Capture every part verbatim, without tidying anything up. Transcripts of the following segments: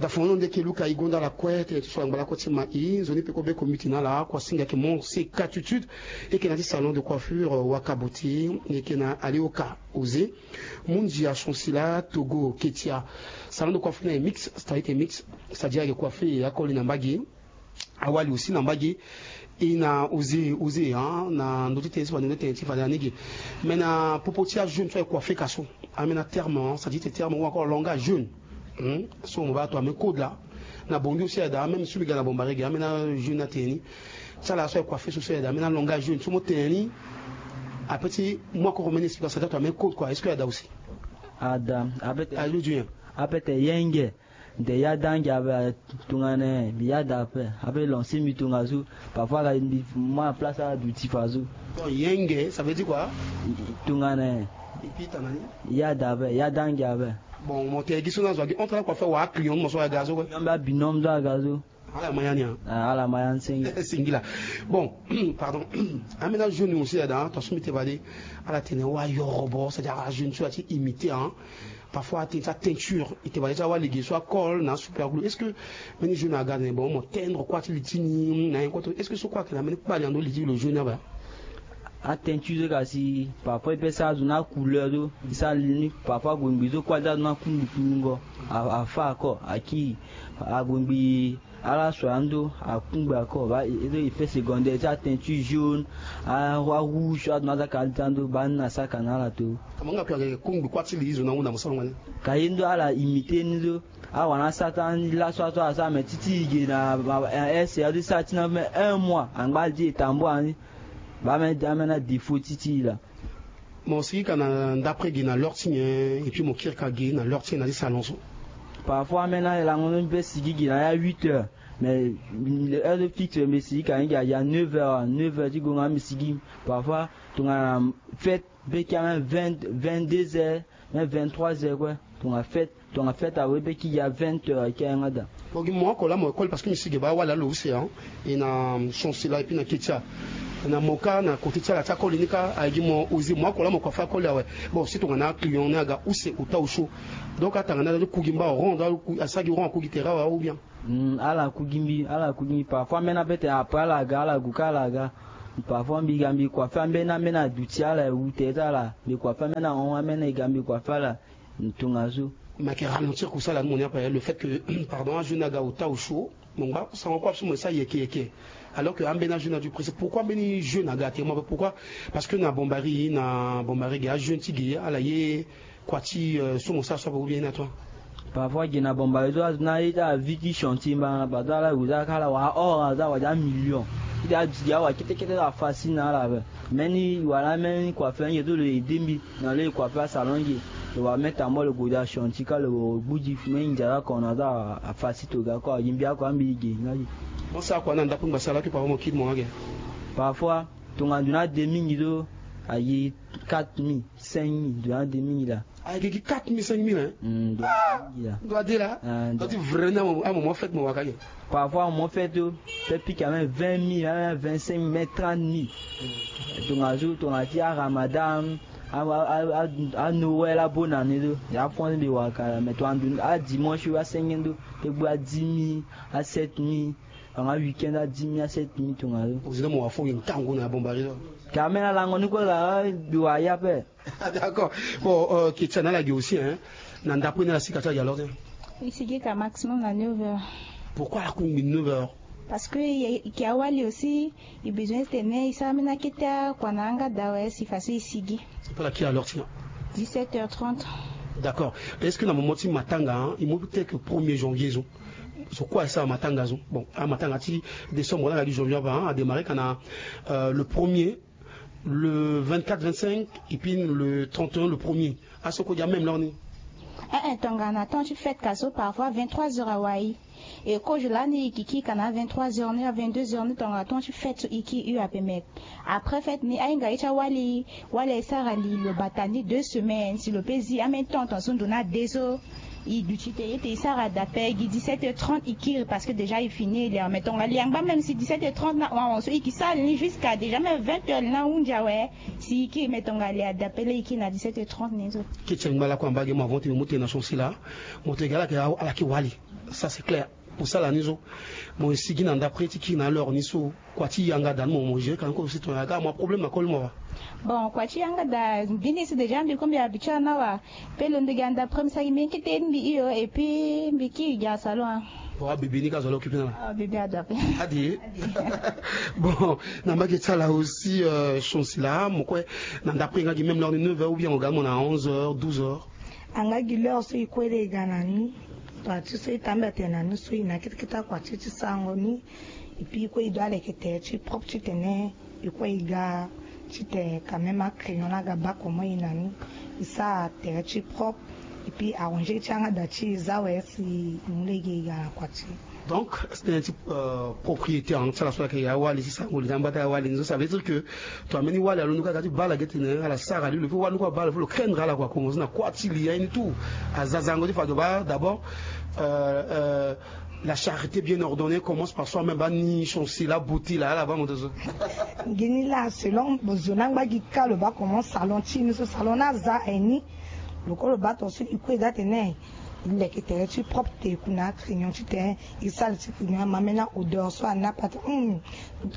Afongono nde eke luka e gonda ala kue tene ti so angba lakue ti ma e nzoni peko beko miti na ala kua singa eke mon se katutut. Eke na ti salon de coiffure waka boti eke na alioka oze. Mundia sonsila togo ketia. Salon de coiffure na e mix stadite mix. Stadia eke coiffe akoli na mbage. Awali aussi na mbage. E na oze oze na ndo ti tene ti fade ndo ti tene ti fade na nege. Mais na popo ti ajeune so aye coiffe ka so. Amena terme, c'est-à-dire terme ou encore langage jeune. So mo ba to amena code la. Na bongi aussi ada même so mi ga na bombarege amena jeune ateni. Ti ala so aye coiffe so so ada amena langage jeune so mo teni. Après ti mo encore omena explication to amena code quoi, est-ce que ada aussi? Ada. Ape te. Ayo dien. Ape te yenge. Nde ya dange ape. Tongana mbi ya da ape. Ape lancer mbi tongaso. Parfois ka mbi moi place aduti faso. Donc yenge ça veut dire quoi? Tongana. Epita nani? Ya da ape ya dange ape. Bon mo te gi so na zo agi entre la coiffeur wa client mo so aga so kue. Yamba binôme so aga so. Ala ma ya ni. Ala ma ya ni singila. Bon. Pardon. Amena jeune aussi ada to so mi te bade. Ala tene wa yorobo c'est-à-dire jeune so ati imiter. Parfois atene ti ateinture ete bade ti awali ge so akol na super glue est-ce que? Mbeni jeune aga na bon mo teindre kua ti li ti ni na ye kue to est-ce que so kue ayeke na mbeni kpali na ndo li ti lo jeune aba? Ateinture so kasi parfois e pe sara zo na couleur so e sara li ni parfois ague ngbi so kue aza zo na kundu kulungo. Afa ako aki ague ngbi. Ala so ando akungba ko ba effet secondaire ti ateinture jaune. Arouge so ado na azaka ali ti ando ba ni na saka na ala to. Amanga kue ayeke kungbi kuâ ti li zo na ahunda mo sara ngani. Ka ye ndo ala imiter ni so. Awara na sara ti andi laso aso asara me ti ti e ge na ese ado ti sara ti na me un mois angba ali ti e tambua ni. Ba me da me na défaut ti ti e laa. Mo sigi ka na ndapre ge na l'heure ti nyen? Et puis mo kiri ka ge na l'heure ti nyen na ti salon so? Parfois ambeni alango ni mbi pe sigi ge na ya huit heures. Mais heure so fixe mbi sigi ka ni ge aya neuf heures neuf heures ti gonga mbi sigi. Parfois tongana fête mbi pe kia même vingt vingt-deux heures même vingt-trois heures kue. Tongana fête tongana fête awe mbi pe ki ya vingt heures eke ayanga daa. Mo gi mo oko laa mo école parce que mbi sigi baa wala lo use. E na chanse laa et puis na ketia na mo kâ na kote ti ala ti akoli ni kâ aye gi mo oze mo oko laa mo kua fâ akoli awe. Bon si tongana aclient ni aga use ota osio. Donc atanga ni aza ti ku gi mba oron asara gi oron aku gi tere awe ou bien? Ala ku gi mbi ala ku gi mbi parfois ambeni ape tene après ala ga ala gu kâ ala ga. Parfois mbi ga mbi kua fâ ambeni ambeni aduti ala ewu tere ti ala mbi kua fâ ambeni ahon ambeni e ga mbi kua fâ ala. Tongaso. Mais ayeke ralentir kusala ni mo ni ape le fait que pardon ajeune aga ota osio. Mo ngba sango kue ape so mo sa yeke yeke. Alors que ambeni ajeune adu pressé pourquoi ambeni jeune aga te mo ape pourquoi? Parce que na bombari na bombari ge ajeune ti ge ala ye kua ti so mo sa so ape ou bien ye na toi? Parfois ge na bombari so azo na ye ti avi ti chantier mbana na bato ala weza kala wala or aza wala amillion. Ti aduti ge awa kete kete afa si na ala ape. Mbeni wala mbeni kua fenye so lo aide mbi. Na lo e kua fâ asalon ge. Lo wara me tambua lo gue daa chantier kâ lo gbu gi me ndia la ko na aza afa si to ga ko aye mbi ako ambi ge nga ge. Mo sara kua na ndapre ngbasa laa ke papa mo kiri mo nga ge. Parfois tongana ndo na de mingi so aye quatre mille cinq mille ndo na de mingi laa. Ayeke gi quatre mille cinq mille hein? Ndo na de laa. Ndo ti vrai ni amomo fête mo waka ge. Parfois amomo fête so pe pika même vingt mille même vingt cinq mille même trente mille. Tongaso tongana ti aramadan. Anoël abonne année so ya france mbi waka laa mais tongana ndo adimanche so asenge ndo. Pe gbu adix mille asept mille. Anga weekend adix mille asept mille tongaso. Ozina mo wa fo gi ntangu na bombari so. Ka même alango ni kue laa mbi wa ya pe. D'accord. Bon ketia na ala gi aussi hein. Na ndapre ni ala si ka ti ala gi alors te? E sigi ka maximum na neuf heures. Pourquoi ala kungbi neuf heures? Parce que e yeke awali aussi. E besoin ti tene e sara ambeni akete akua na yanga daa awe si façon e sigi. Pe ala kiri alors ti na? Dix-sept heures trente. D'accord. Est-ce que na moment ti matanga e mu ti teke premier janvier so? So kue asara matanga so bon amatanga ti décembre na ala gi janvier ape adémarrer ka na le premier, le vingt-quatre vingt-cinq et puis le trente et un le premier. Aso kue dia même lor ni. Eh eh tongana temps ti fête ka so parfois vingt-trois heures awai. E kozo lani e yeke kiri ka na vingt-trois heures ni vingt-deux heures ni tongana temps ti fête so e kiri hu ape mais après fête ni ahinga ye ti awali. Wali asara li lo bata ni deux semaines si lo pe zi ambeni temps ton so ndo na de so. E duti te ete e sara d'appel gi dix-sept heures trente e kiri, parce que déjà e fini e lia. Mais tongana e lia ngba, même si dix-sept heures trente na hon, so e ke sara li ni jusqu'à déjà même vingt heures na hunzi awe. Si e kiri, mais tongana e lia d'appel e kiri na dix-sept heures trente ni so. Keti angba lakue na mbage mo avant ti mo mu tene na chantier laa, mo tene ala yeke, ala yeke wali. Ça c'est clair. Mo sara ni so, mo sigi na ndapre ti kiri na l'heure ni so. Kua ti yanga da ni mo, mo gérer ka ni kue aussi, tongana aga mo problème na koli mo awa. Bon, kua ti yanga da, mbeni si déjà mbi kue mbi habitué na ni awa. Pe londo gi anda premier saki mbi inquiété mbi hio, et puis mbi kiri gi na salon, hein. Bon, abebe ni ka zo ala occupé na ala. Ah, bebe ada pe. Ade. Bon, na mbage ti ala aussi, euh, chantier laa mo kue, na ndapre nga gi même l'heure ni, neuf heures ou bien mo ga mo na onze heures, douze heures. Anga gi l'heure so e kue e ga na ni. Kua ti so e tambela tene na ni so e na kete kete akua ti e ti sarango ni. Et puis e kue e doit leke tere ti propre titene e kue e ga, titene quand même acrayon laa aga baa comment e na ni. E sara tere ti propre. Et puis arranger ti yanga da ti e, za awe si e mu lege e ga na kua ti e. Donc tënë ti, euh, propriété, hein, ti ala so ayeke awali ti sarango li ti ambata awali ni so, ça veut dire que tongana mbeni wali alondo kaka ti baa ala ge tene ala sara li, lo faut wali ni kue abaa ala, faut lo craindre ala kua, komonce na kuâ ti li aye ni tout. Aza zango ti fa, adoit baa d'abord, euh, euh, la charité bien ordonnée commence par soi-même. Baa ni chantier la beauté laa, ala baa mo tongaso. Ngi ni laa, selon zo ni angba gi ka, lo baa comment salon ti e ni so, salon ni aza aye ni. Lo kue lo baa tongaso e kue e ga tene e leke tere ti propre te, e ku na acrayon titene e sara li ti crayon, amamena odeur so ani ape ate, hum,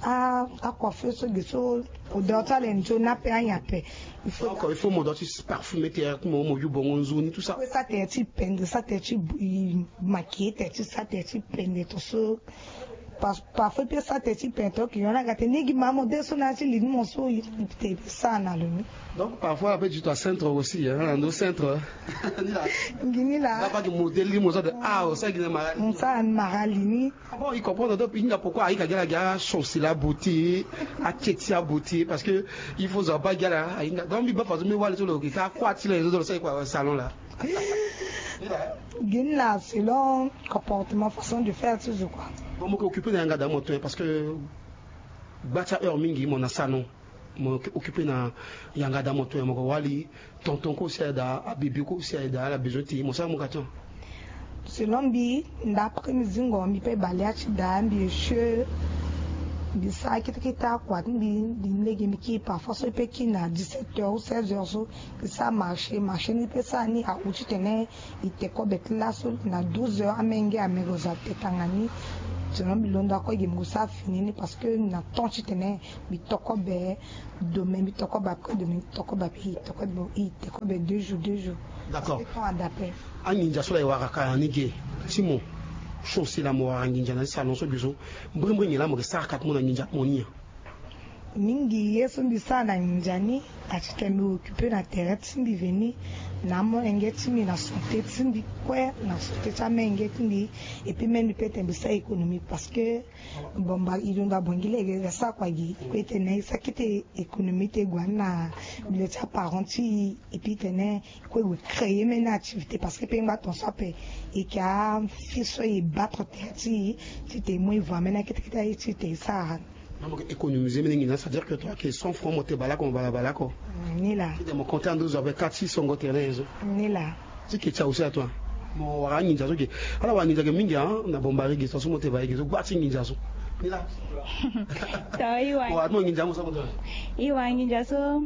a, acoiffeur so ge so, odeur ti ala e nzoni ape, anyen ape. Il faut, donc il faut mo doit ti parfumer tere ti mo, mo yu bongo nzoni, tout ça. Sara tere ti pende, sara tere ti bu-, maquiller tere ti, sara tere ti pende tongaso. Par-, parfois e peut sara tere ti pente, ok, yo na ga tene ni gi mama mo de so na ya ti li ni mo so, e peut sara na lo ni. Donc parfois ape du to a centre aussi, hein, na ndo centre. Ngi ni laa. Nga baa gi modèle ni mo so de, ah, o sara gi na mara. Mo sara na mara li ni. Ah bon, il comprend donc, il n'y a pourquoi ahinga gi ala gi a chantier la beauté, a keti a beauté, parce que il faut zo abaa gi ala ahinga. Donc mbi baa façon mbi wali so lo gi ka kuâ ti la zo, zo lo sara kua salon laa. Ngi ni laa, selon comportement, façon de faire ti zo kua. Bon, mo yeke occupé na yanga da mo tongaso, parce que gba ti aheure mingi mo na salon, mo yeke occupé na yanga da mo tongaso, mo yeke wali, tonton kue aussi aye da, abebe kue aussi aye da, ala besoin ti mo sara mo ka tongaso. Selon mbi, ndapre mbi zingo mbi pe bale ya ti da, mbi échoué. Mbi sara kete kete akua ti mbi, mbi lege mbi kiri, parfois so e pe kiri na dix-sept heures ou seize heures so. E sara marché, marché ni pe sara ni ahu titene e te kobe ti laso na douze heures, amenge amego zo ate tanga ni. Sinon mbi londo ako ge mbi gue sara fini ni, parce que na temps titene mbi to kobe demain, mbi to kobe après demain, mbi to kobe après, e te kobe, e te kobe deux jours, deux jours. D'accord. Parce que temps ada ape. Anginza so la e wara ka na ni ge ti mo, so si la mo wara nginza na ni salon so ge so, mbrimbri nyen la mo ke sara ka ti mo na nginza ti mo ni nyen? Mingi ye so mbi sara na nginza ni, a ti tene mbi occupé na tere ti mbi veni, na amolenge ti mbi, na santé ti mbi kue, na santé ti amenge ti mbi. Et puis même mbi pe tene mbi sara économie, parce que bon, mba e londo abongi lege e sara kua gi, e kue e tene e sara kete économie ti e gue na mbi le ti aparent ti e, et puis tene e kue e gue créer même activité, parce que pe ngba tongaso ape e yeke afi so e battre tere ti e, ti tene e mu e voie même na kete kete aye ti tene e sara. Na mo yeke économiser mbeni nginza, c'est-à-dire que toi, que cent francs mo te bale oko, mo bale bale oko. Mm, ni laa. Ti tene mo compter na ndo zo avec quatre six songo tere na ye so. Ni laa. Ti ke ti awu si atoi. Mo wara anginza so ge. Ala wara nginza ge mingi, hein, na Bombari ge so, so mo te bale ge so, gba ti nginza so. Ni laa. To, e wara. Mo wara ti mo nginza mo so mo te bale. E wara nginza so.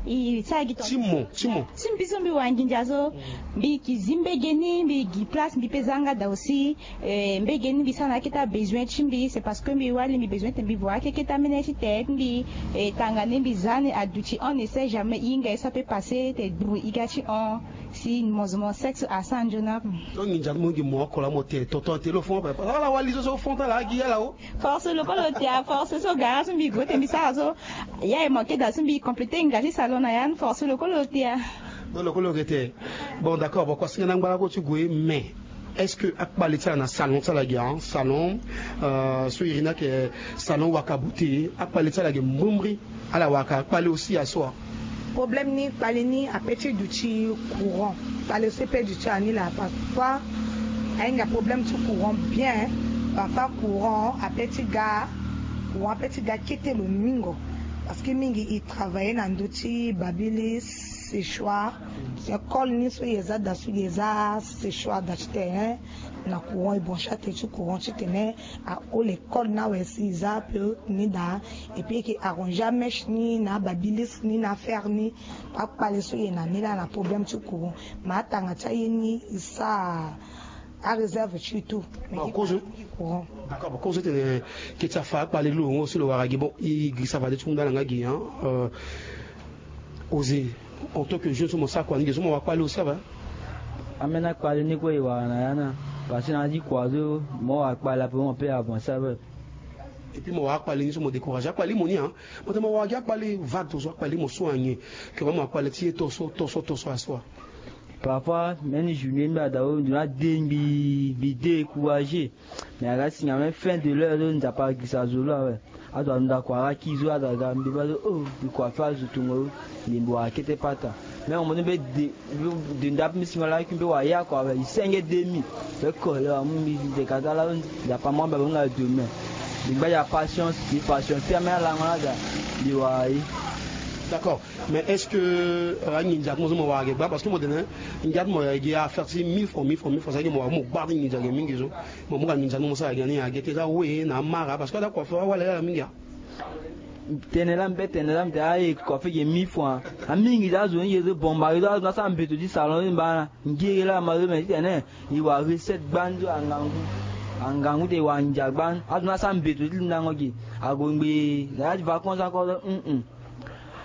E sara gi to. Ti mo, ti mo. Ti mbi so mbi wara nginza so. Mm. Mbi yeke zi mbege ni, mbi gi place, mbi pe za yanga da aussi. Eh, mbege ni mbi sara na akete abesoin ti mbi, c'est parce que mbi wali, mbi besoin ti mbi voie akekete amene ti tere ti mbi. Eh, tanga ni mbi za ni aduti, on ne sait jamais, e hinga e so ape passé, te duru e ga ti hon. Si mo zo mo sexe asara nzoni ape. Donc nginza ti mo gi mo oko la mo te tonton te lo fon ape. Ala wali so so fon ti ala gi ala o. Force lo kue lo te a, force so gara so mbi gue te mbi sara so. Ya e manqué da so mbi complété nginza ti salon na ya ni, force lo kue lo te a. Donc lo kue lo yeke te. Bon, d'accord, bon, kua singa na ngbala ko ti gue, mais est-ce que akpale ti ala na salon ti ala ge, hein, salon, euh, so iri ni ayeke salon waka beauté, akpale ti ala ge mbrimbri, ala waka akpale aussi ya so a? Problème ni kpale ni ape ti duti courant. Kpale so e pe duti ala ni laa, parfois ahinga problème ti courant bien, parfois courant ape ti ga, courant ape ti ga kete lomingo. Parce que mingi e travailler na ndö ti babili, séchoir, École ni so e za daa so e za sechoir daa titene na courant, e branche atene ti courant titene ahon l'école ni awe si e za peu ni daa. Et puis e yeke arranger amèche ni na ababilis ni na affaire ni. Akpale so e na ni laa na problème ti courant. Mais atanga ti aye ni e sara aréserve ti e tout. Mais e kozo. D'accord, bon, kozo tene keti afa akpale lo ngo si lo wara gi. Bon, e girisa fade ti hunda na nga gi, hein. Osé, en tant que jeune so mo sara kua ni gi so mo wara kpale aussi awe? Ambeni akpale ni kue e wara na ya na. Parce que na ya ti kua so mo wara kpale ape mo pe avancer ape. Et puis mo wara akpale ni so mo décourager akpale mo ni, hein. Mo tene mo wara gi akpale vague to so akpale mo so anyen. Ke mo wara akpale ti ye to so to so to so aso. Parfois même journée mbi ada o ndo na de mbi mbi décourager. Mais aga singa même fin de l'heure so Nzapa agirisa zo lo awe. Azo anda kua aga ki zo azo aga mbi baa so o mbi kua fâ azo tongo. Mbi mbi wara kete pata. Mais mo mbe de de nda mbi singa laki mbe wara ya kua awe e senge demi. Mbe kole amu mbi de kata laa so Nzapa amu amba bonga demain. Mbi ngba ya patience mbi patience ti ameni alango laa daa. Mbi wara ye. D'accord. Mais est-ce que anginza ti mo so mo wara ge gbaa? Parce que mo tene ngia ti mo gi affaire ti mille francs mille francs mille francs sa gi mo wara mo gbaa ti nginza ge mingi so. Mo mu ka nginza ni mo sara gi na ni age te za we na amara parce que ada kua fâ awale ala mingi a. Tene laa mbi pe tene laa mbi tene aye kua fâ ge mille francs. Amingi za azo ni ge so bomba ge so azo ni asara mbeto ti salon so mba na. Ngere laa ma so mais titene e wara recette gbani so angangu. Angangu te e wara nginza gbani azo ni asara mbeto ti lindango ge. Ago ngbe na ya ti vacances ako so hum hum.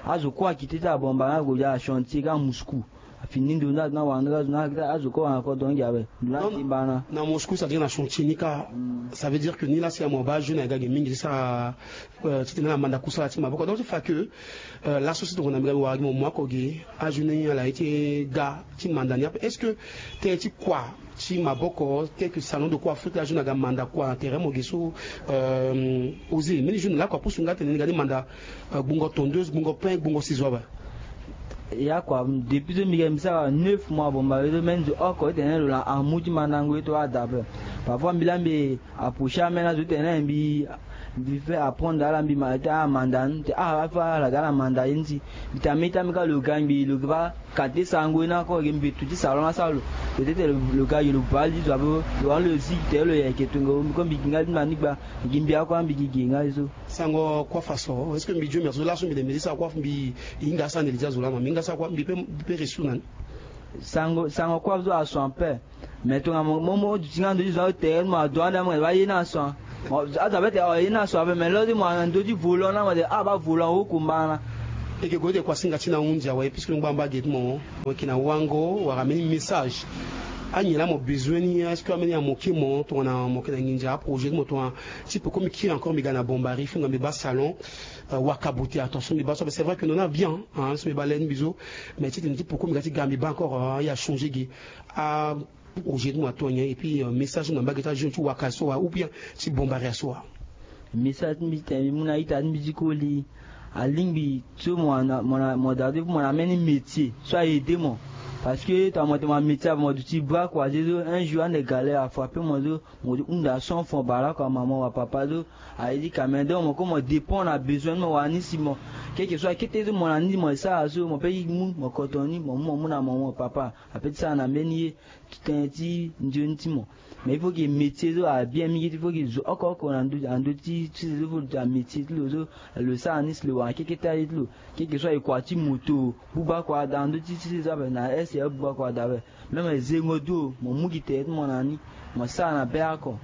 Azo kue akite ti abomba na ago dia chantier ka Moscou. Afini ndo na na wanga zo na kita azo ko wanga ko dongi awe. Na timba na. Na Moscou, c'est-à-dire na chantier ni ka. Ça veut dire que ni la si amo ba jeune aga ge mingi sa. Ti tene na manda kusala ti maboko donc ti fa que la société ko na mbi ga wara gi mo mo ako ge. A jeune ni ala ete ga ti manda ni ape est-ce que te ti kua ti maboko tel que salon de coiffure ti ajeune aga manda kua na tere mo ge so? Osé mbeni jeune lakua pusu nga tene ni ga ni manda gbungo tondeuse gbungo pain gbungo sizo awe. Ya kua depuis so mbi ga mbi sara neuf mois bomba ye so me nzo oko ti tene lo na amu ti mandango ye to ada ape. Parfois mbi la mbi approcher ameni azo ti tene mbi mbi fait apprendre ala mbi ma ti amanda ni ti ah afa ala ga ala manda ye ni ti mbi tene ameni ti ameni ka lo ga ngbii lo ga ba. Kate sango ye ni ako gi mbeto ti salon asara lo. Peut-être lo ga gi lo baa li ti zo ape lo wani lo zi gi tere lo yeke tongo mbi ko mbi gi nga ti mani gba. Mbi gi mbi ako ambi gi gi nga ye so. Sango kuâ faso est-ce que mbi dio merci laso mbi de mbi di sara kuâ mbi hinga asara ndeli ti azo lama mbi hinga asara kuâ mbi pe mbi pe resu na ni. Sango sango kuâ so aso ape. Mais tonga mo mo mo duti nga ndo ti zo atere mo ado ande mo ba ye na so. Azo ape te aye na so ape mais lo ti mo na ndo ti volant na mo te ah ba volant wo kumba na. Eke gue de kua singa ti na hunzi awe puisque ngba mba ge ti mo. Mo yeke na wango wala mbeni message. Anyen laa mo besoin ni est-ce que ambeni amoke mo tongana mo yeke na nginza aprojet ti mo tongana ti peko mbi kiri encore mbi ga na bombari funga mbi baa salon. Wakabuti attention mbi baa so ape c'est vrai que non na bien. So mbi baa le ti mbi so mais ti tene ti peko mbi ga ti ga mbi baa encore aye achangé ge. Aprojet ti mo ato anyen et puis message ti mo na mbage ti ajeune ti waka so wa ou bien ti bombari aso wa. Message ti mbi ti tene mbi mu na ita ti mbi ti koli. Alingbi so mo na mo na mo da ti mo na mbeni métier so a aidé mo. Parce que tongana mo tene mo na métier ape mo duti baa kua ti so un jour ande galère afrappé mo so. Mo ti hunda son fond baa lakua mama wa papa so. Aye ti ka mais donc mo ko mo dépend na besoin ti mo wani si mo. Quelque soit kete so mo na ni mo sara so mo pe mu mo koto ni mo mu mo mu na mo mo papa. Ape ti sara na mbeni ye. Ti tënë ti nzoni ti mo. Mais il faut que métier so abien mingi ti faut que zo oko oko na ndö na ndö ti ti sezo fo lo ti amétier ti lo so. Lo sara ni si lo wara keke ti aye ti lo. Keke so aye kua ti moto buba kua daa na ndö ti ti sezo ape na ese abuba kua daa ape. Même zengo do mo mu gi tere ti mo na ni. Mo sara na be oko.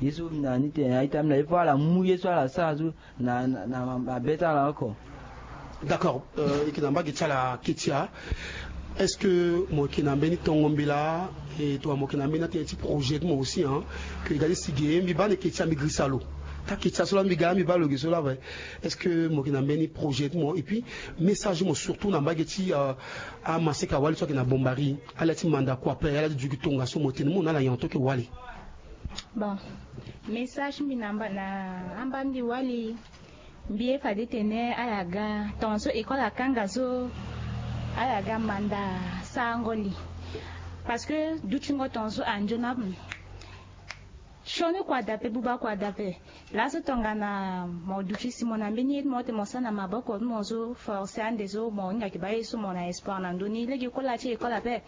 Ye so na ni tene na ita mbi na ye fo ala mu ye so ala sara so. Na na na mabe ti ala oko. D'accord. Eke na mbage ti ala ketia. Est-ce que mo yeke na mbeni tongo mbela? E tongana mo yeke na mbeni atene ti projet ti mo aussi hein. Ke e ga ti sigi e mbi baa na ketia mbi girisa lo. Taa ketia so laa mbi ga mbi baa lo ge so laa awe. Est-ce que mo yeke na mbeni projet ti mo et puis message ti mo surtout na mbage ti amaseka wali so ayeke na bombari? Ala ti manda kua ape ala ti duki tongaso mo tene mo na ala nyen en tant que wali? Bon. Message ti mbi na amba na amba mbi wali. Mbi ye fade tene ala ga tongaso école akanga so. Ala ga manda sarango li. Parce que dutingo tongaso anzoni ape. Sioni kua dape, buba kua dape. Laso tongana mo duti si mo na mbeni ye ti mo ti mo sara na maboko ti mo so, forcé ande so mo hinga yeke baa ye so mo na espoir na ndö ni. Lege kola ti école ape.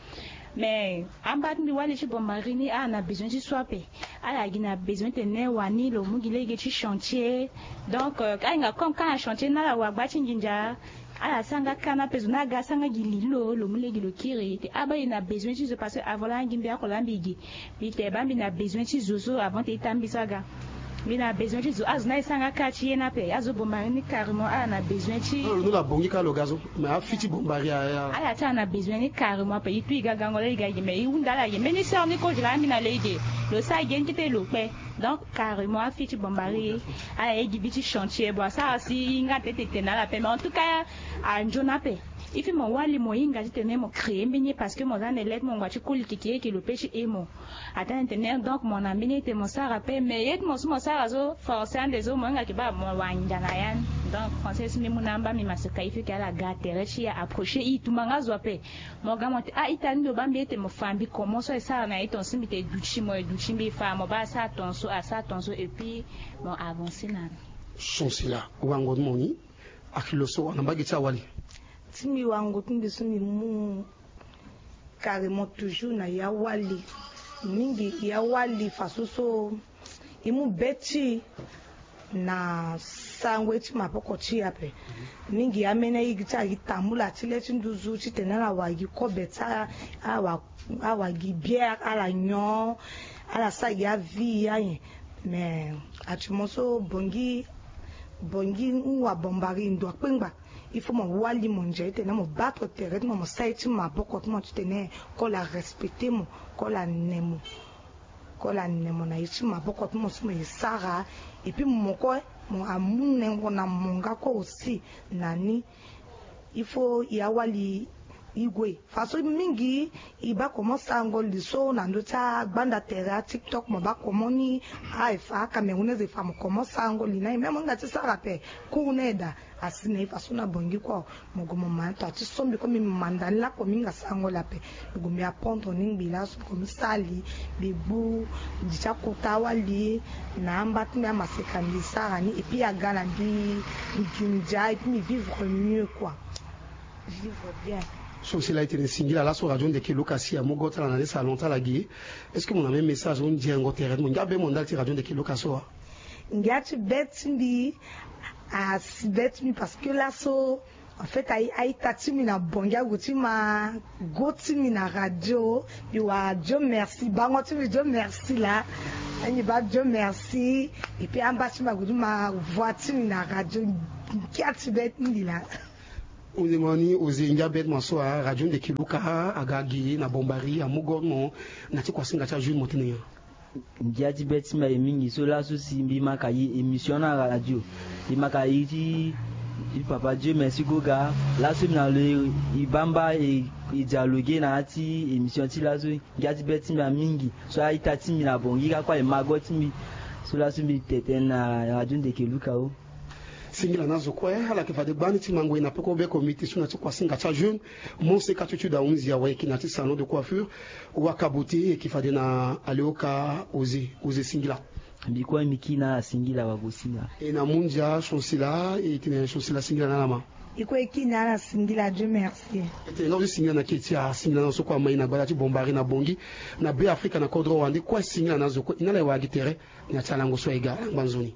Mais amba ti mbi wali ti Bombari ni ala na besoin ti so ape. Ala gi na besoin ti tene wani lo mu gi lege ti chantier. Donc ahinga comme ka na chantier ni ala wa gba ti nginza. Ala sara nga ka ni ape, zo ni aga asara nga gi li lo, lo mu lege lo kiri te. Aba e na besoin ti zo parce que avant laa gi mbi ako laa mbi gi. Mbi te baa mbi na besoin ti zo so avant te ita mbi so aga. Mbi na besoin ti zo, azo ni aye sara nga ka ti ye ni ape. Azo Bombari ni carrément ala na besoin ti. Lo nu la bongi ka lo ga so. Mais afi ti Bombari aya. Ala ti ala na besoin ni carrément ape. E tu e ga gango laa e ga e gi, mais e hunda ala gi. Mbeni sœur ni kozo laa mbi na lege. Lo sara gi ni kete lo kpe. Donc carrément afi ti Bombari ala ye gi bi ti chantier. Bon asara si e hinga ti tene na ala ape, mais en tout cas anzoni ape. Il faut mo wali mo hinga ti tene mo créer mbeni ye parce que mo za na le ti mo ngua ti koli keke eke lo pe ti e mo. Atene tene donc mo na mbeni ye ti tene mo sara ape, mais ye ti mo so mo sara so forcé ande so mo hinga yeke baa mo wangia na ya ni. Donc français so mbi mu na amba mbi maseka, il faut ke ala ga tere ti e approcher e, tumba nga zo ape. Mo ga mo te a-ita ni lo baa mbi ete mo fa mbi comment so e sara na e tongaso mbi te duti mo e duti mbi fa mo baa asara tongaso asara tongaso et puis mo avancer na. Chancela, wango ti mo ni. Aki lo so wala mbage ti awali. Ti mbi wango ti mbi so mbi mu carrément toujours na ya wali. Mingi ya wali façon so e mu be ti na sango ye ti maboko ti e ape. Mingi ameni aye gi ti ala gi tambula ti le ti nduzu titene ala wa gi kobe ti ala, ala wa gi bière ala nyon, ala sara gi avie ayen. Mais actuellement so bongi bongi nwa Bombari ndo akpengba. Il faut mo wali mo ndia titene mo battre tere ti mo, mo sara ye ti maboko ti mo titene kola respecter mo, kola ne mo. Kola ne mo na ye ti maboko ti mo so mo ye sara. Et puis mo kue mo amu nengo na mo nga kue aussi na ni. Il faut ya wali e gue façon mingi. E baa comment sarango li so na ndö ti agbanda tere atiktok mo baa comment ni. Aye fa acamerounais e fa mo comment sarango li na e même mo hinga ti sara ape. Cours na e daa asi na e façon na bongi kue. Mo gue mo ma na to ati so mbi kue mbi manda ni lakue mbi hinga sarango li ape. Mbi gue mbi apprendre ni ngbi laso mbi gue mbi sara li. Mbi gbu li ti akota wali na amba ti mbi amaseka mbi sara ni et puis aga na mbi. Mbi gi ndia et puis mbi vivre mieux kua. Vivre bien. So si laa e tene singila laso radio ndeke luka si amu go ti ala na le salon ti ala gi. Est-ce que mo na même message so nzengo tere ti mo ngia be mo ndali ti radio ndeke luka so wa? Ngia ti be ti mbi asi be ti mbi parce que laso en fait a-ita ti mbi na bongi agu ti ma go ti mbi na radio. Mbi wa dio merci bango ti mbi dio merci laa. Mbi baa dio merci. Et puis amba ti mbi agu ti ma voix ti mbi na radio. Ngia ti be ti mbi laa. Hunde mo ni oze ngia be ti mo so a radio ndeke luka aga gi na bombari amu go ti mo. Na ti kuasinga ti ajour mo tene nyen? Ngia ti be ti mbi aye mingi so laso si mbi ma ka ye émission na radio. Mbi ma ka ye ti papa dieu merci goga. Laso mbi na lo e bamba e dialoguer na ya ti émission ti laso. Ngia ti be ti mbi aye mingi so a-ita ti mbi na bongi kaka kue aye mago ti mbi. So laso mbi tete na radio ndeke luka o. Singila na zo kue ala yeke fade gbani ti mango e na peko be komite so na ti kuasinga ti ajeune. Monseka ti tuda hunzi awe e yeke na ti salon de coiffure. Wakabote e yeke fade na aleoka oze oze singila. Mbi kue mbi kiri na ala singila wago singila. E na mundia chancela e tene chancela singila na ala ma. E kue e kiri na ala singila dieu merci. E tene nga oze singila na keti asingila na zo so kue ama e na gbata ti bombari na bongi na be afrika na kodro wande kue singila na zo kue e na ala e wara gi tere. Na ti alango so aye ga alangba nzoni.